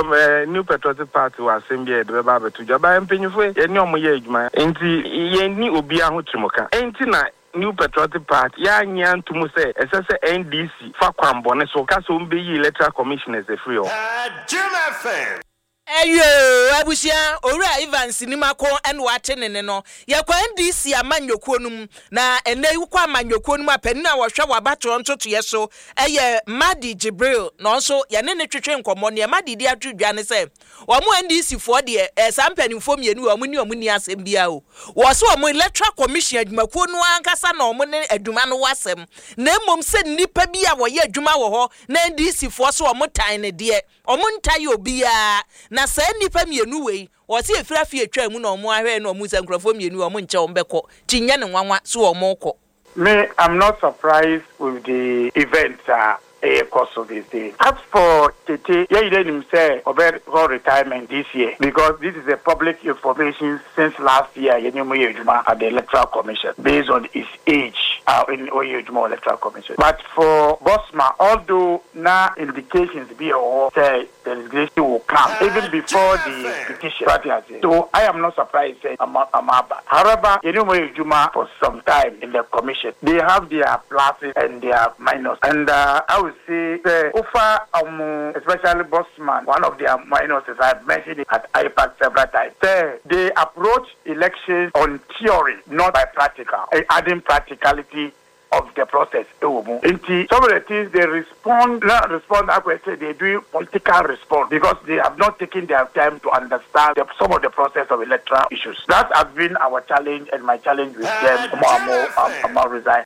Mpakyɛw, New Patriotic Party wɔ asɛm bi a yɛde bɛba abɛto dwa. But mpanyimfo yi, yɛne wɔn yɛ adwuma. Enti yɛnni obiara ho tirimka. Enti na New Patriotic Party, yɛannye anto mu sɛ ɛsɛ sɛ NDC fa kwanbɔne so ka sɛ wɔbeyi Electoral Commissioners afiri hɔ. Ɛyoo abusua, Owura Evans Nimako na wate ne nne no. Yɛkɔ NDC amanyɔkuo no mu, na ɛnnɛ yi wokɔ amanyɔkuo no mu a, panin a ɔhwɛ w'abatoɔ ntotoeɛ so yɛ Mahdi Jibril, na ɔno nso yɛne no twetwe nkɔmmɔ. Deɛ Mahdi de ato dwa ne sɛ, wɔn NDC foɔ deɛ, ɛɛ saa mpanimfoɔ mmienu wei, wɔn ne wɔn nni asɛm biara o. Wɔse wɔn Electoral Commission adwumakuo no ara ankasa na wɔn ne adwuma no wɔ asɛm, na mmom sɛ nnipa bi a wɔyɛ adwuma wɔ hɔ na NDC foɔ se wɔn tan no deɛ, Ɔmo ntae obiaa, na saa nnipa mienu wei, wɔse efiri afe a etwaa mu na ɔmo ahwɛɛ na ɔmo hu sɛ nkorɔfoɔ mienu wei ɔmo nkyɛ ɔmo bɛkɔ, nti nyɛ no nwanwa so ɔmo kɔ. Me I'm not surprised with the events a ɛrekɔ so these days. As for Tete, yɛn nyinaa nim sɛ ɔbɛkɔ retirement this year because this is a public information since last year a yɛne ɔmo yɛ adwuma at the electoral commission based on his age a ɔyɛ adwuma wɔ electoral commission. But for Bosma, although na indications bi wɔ hɔ sɛ the resignation will come even before the petition, so ate aseɛ? So I am not surprised sɛ ɔmo aba. However, yɛne ɔmo ayɛ adwuma for some time in the commission, they have their pluses and their minus and I would say sɛ wofa ɔmo especially Bosman, one of their minuses, I have mentioned it at IPAC several times sɛ they approach elections on theory not by practical, adding practicality of the process ɛwɔ mu nti some of the things they respond na respond akɔyɛ sɛ they doing political response because they have not taken their time to understand the, some of the process of electoral issues that has been our challenge and my challenge with them ɔmo a ɔmo ɔmo resign.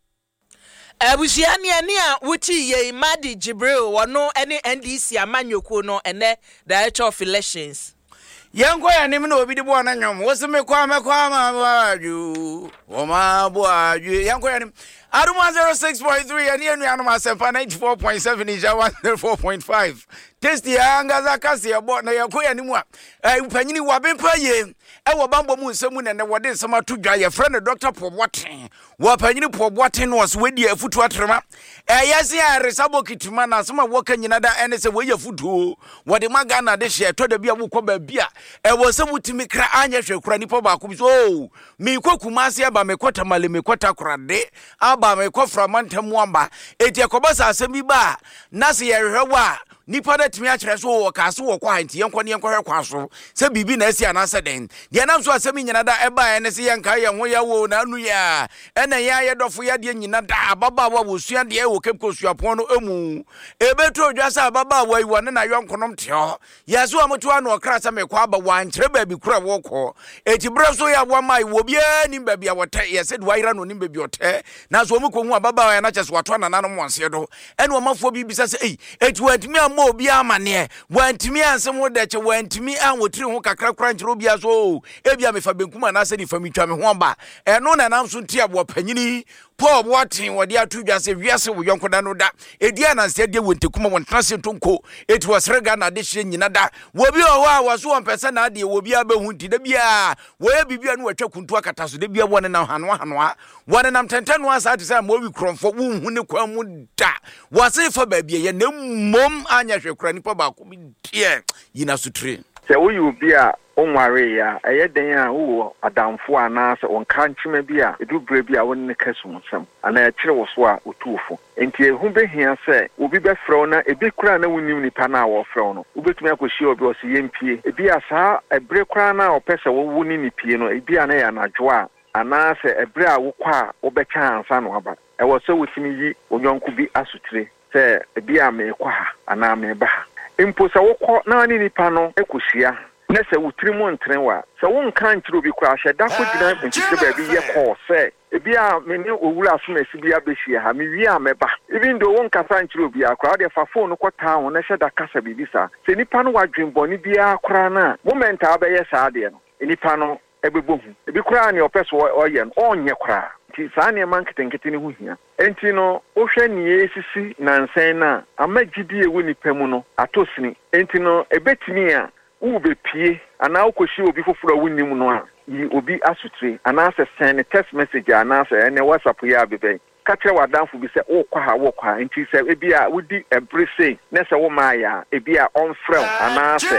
Abusua ne ɛne a wotii yei Mahdi Jibril wɔno ne NDC amanyɔkuo no ɛnɛ Director of Elections. Yɛnkɔ yɛn anim na obi de bɔɔ no nnwom. Wo se mekɔ a mɛkɔ ama aboadwo. Wɔma aboadwo. Yɛnkɔ yɛn anim. Adom 106.3 yɛne yɛn nuanom Asɛmpa 94.7 Nhyira 104.5. Tasty ankasa kaseɛbɔ na yɛkɔ yɛn anim a eh, panyini wabempa yie ɛwɔ bambɔ mu nsɛm mu na ɛnɛ wɔde nsɛm ato dwa. Yɛfrɛ no Dr. Paul Boateng. Wɔ panyini Paul Boateng no ɔse wadi afutuo atrema. Ɛyɛ se a ɛresa bokiti ma na asɛm a wɔka nyina da ɛne sɛ wei yɛ afutuo wɔde ma Ghana de hyɛ ɛtɔ da bi a wokɔ baabi a ɛwɔ sɛ wotumi kra anyɛ hwɛ kora nipa baako bi so oh mekɔ Kumasi aba mekɔ Tamale mekɔ Takorade aba mekɔ Framantam aba eti ɛkɔba sɛ asɛm bi ba a na sɛ yɛhwehwɛ wɔ a Nipa no atumi akyerɛ so wɔkaa so wɔkɔ ha nti yɛnkɔ ne yɛnkɔhwɛ kwan so sɛ biribi na asi anaasɛ dɛn. Deɛ ɛnam so asɛm yi nyina da ɛbaeɛ ne sɛ yɛnkae yɛn ho yɛ wo na anu yɛ a ɛna yɛn a yɛdɔfo yɛ adeɛ nyina da ababaawa a wɔsua adeɛ wɔ Cape Coast Suapɔn no mu. Ɛbɛtɔ dwa sɛ ababaawa yi wɔne n'ayɔnkonom te hɔ. Yɛ so a moto ano ɔkra sɛ mekɔ aba wɔankyerɛ baabi koro a wɔkɔ. Eti berɛ so yɛ a wɔama wɔ obiara nim baabi a wɔtɛ yɛ sɛ de wɔayera no onim baabi ɔtɛ. Nanso wɔn kɔhu ababaawa yi na kyɛ sɛ wɔato anananom wɔn seɛ do. Ɛna ɔmanfoɔ bi bisa sɛ, Ei, enti wɔantumi ammɔ obiara amanneɛ? Wɔantumi anse ho dɛkyɛ? Wɔantumi anwotiri ho kakra koraa ankyerɛ obiara sɛ, Oo, ebia mefa benkum anaasɛ nifa metwa me ho aba? Ɛno na ɛnam so nti a wɔpanyini Paul Boateng wɔde ato dwa sɛ wiase wo yɔnko da no da ɛdi ananse adeɛ wɔ ntakuma wɔntena ase ntonko eti wɔsrɛ Ghana adehyeɛ nyina da wɔ bi wɔ hɔ a wɔso wɔmpɛ sɛ n'adeɛ wɔ biara bɛhu nti da biara wɔyɛ biribi a ne wɔatwa kuntu akata so da biara wɔnenam hanoa hanoa Wɔnenam tɛntɛnoa saa te sɛ amoawi korɔmfoɔ, wonhu ne kwan mu da. Wɔase fa baabi a ɛyɛ, na mmom anyɛ hwee koraa, nipa baako bi deɛ, yi n'asotire. Sɛ woyɛ obi a wonwaree a, ɛyɛ dɛn a wowɔ adamfo anaasɛ wo nkankyema bi a edu bere bi a wo ne no ka sumsɛm anaa ɛkyere wo so a otu wo fo? Enti ɛho behia sɛ obi bɛfrɛ wo na ebi koraa na wunnim nipa no a wɔrefrɛ wo no. Wubetumi akohyia obi a ɔse yempue. Ebia saa bere koraa no a ɔpɛ sɛ wo ne no pue no, ebia na ɛyɛ anadwo a Anaasɛ ɛberɛ a wokɔ a wobɛkyɛ ansa na woaba. Ɛwɔ sɛ wotumi yi wo yɔnko bi asotire sɛ ebia merekɔ ha anaa mereba ha. Mpo sɛ wokɔ na ne nipa no kɔhyia na sɛ wo tirim ntene wo a, sɛ wonka nkyerɛ obi koraa a, hyɛ da kɔgyina mfikyire baabi yɛ kɔɔ sɛ ebia me ne Owura Asomasi bi abɛhyia ha, mewie a mɛba. Even though wonkasa nkyerɛ obiara koraa, wo deɛ fa phone no kɔtaa ho na hyɛ da kasa biribi saa. Sɛ nipa no wɔ adwene bɔne biara koraa no a, moment a wobɛyɛ saa adeɛ no, nipa no bɛbɔ hu. Ebi koraa nea ɔpɛ sɛ ɔyɛ no, ɔrenyɛ koraa. Enti saa nneɛma nketenkete no ho hia. Enti no, wohwɛ nea ɛresisi nnansa yi no a, ama gyidi a ɛwɔ nnipa mu no atɔ sini. Enti no, ebetumi a worebepue anaa wokohyia obi foforo a wunnim no a, yi obi asotire anaasɛ sɛn no text message anaasɛ ɛnnɛ WhatsApp yi a abeba yi. Ka kyerɛ w'adamfo bi sɛ worekɔ ha, worekɔ ha, enti sɛ ebia wudi bere sei na sɛ wommaeɛ a, ebia ɔmfrɛ wo anaasɛ.